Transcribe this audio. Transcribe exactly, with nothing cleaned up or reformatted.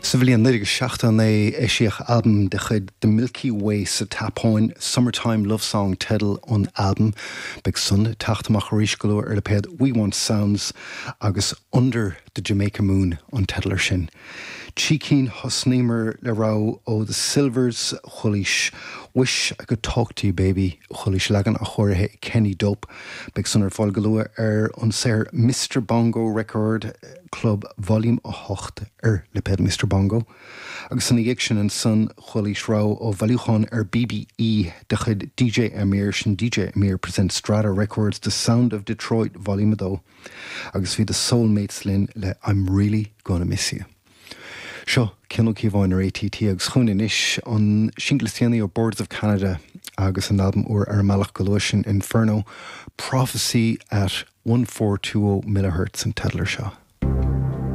Sa bhliain naoi déag seachtó naoi eisíodh albam de chuid The Milky Way sa tSeapáin, Summertime Love Song teideal an albaim. Beidh san ag teacht amach arís go luath ar lipéad We Want Sounds agus Under the Jamaica Moon an teideal air sin. Trí cinn thosnaíomar le rogha ó The Sylvers chualaís Wish I Could Talk to You Baby chualaís leagan athchóirithe Kenny Dope. Beidh san ar fáil go luath ar an saothar Mr Bongo Record Club Volume a hocht ar lipéad Mr Bongo. Agus ina dhiaidh sin ansan chualaís rogha ó bhailiúchán ar BBE de chuid DJ Amir sin DJ Amir presents Strata Records The Sound of Detroit Volume a dó. Agus bhí The Soulmates linn le I'm Really Gonna Miss You. Seo Cian Ó Cíobháin ar ATT agus chugainn anois an singil is déanaí ó Boards of Canada agus an albam úr ar an mbealach go luath sin Inferno, Prophecy at one four two oh millihertz an teideal air seo.